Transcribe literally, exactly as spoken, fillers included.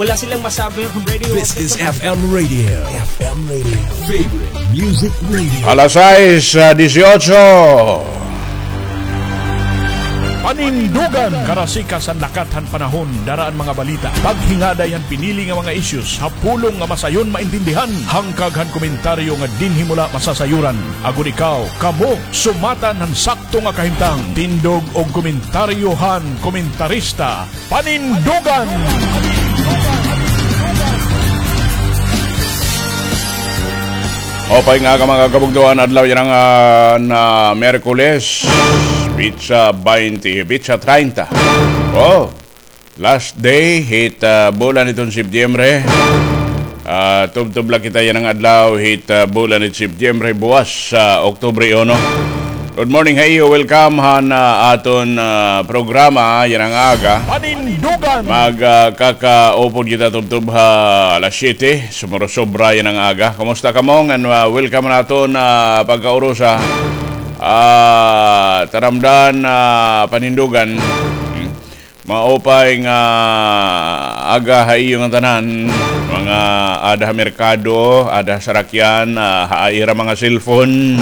Wala silang masabi ang radio. This is F M Radio. F M Radio. Favorite Music Radio. Alas sais, ah, disiotso. Panindugan, karasikas han lakat han panahon, dara an mga balita, paghingaday han pinili nga mga issues, ha pulong nga masayon maintindihan, hangkag han komentaryo nga dinhi mo la masasayoran. Agod ikaw, kamo, sumatan han sakto nga kahimtang, tindog og komentaryo han komentarista, Panindugan! Maupay nga aga, mga kabugtoan, adlaw yana nga, ah, na Miyerkules, petsa baynte, petsa treinta. Oh, last day hit, ah, bulan hiton Setyembre. Ah, tubtob la kita yana nga adlaw hit, ah, bulan hit Setyembre, buwas, ah, Oktubre uno. Good morning ha iyo. Welcome han, ah, aton, ah, programa yana nga aga. Panindugan! Mag, ah, kakaupod kita tubtob ha alas siyete. Sumuro-sobra yana nga aga. Kumusta kamo? Ngan, ah, welcome han aton, ah, pagkaurusa. Ah, taramdan, ah, Panindugan. Hmm. Maupay nga aga ha iyo nga tanan, mga ada ha merkado, ada ha sarakyan, ah, ha ira mga cellphone.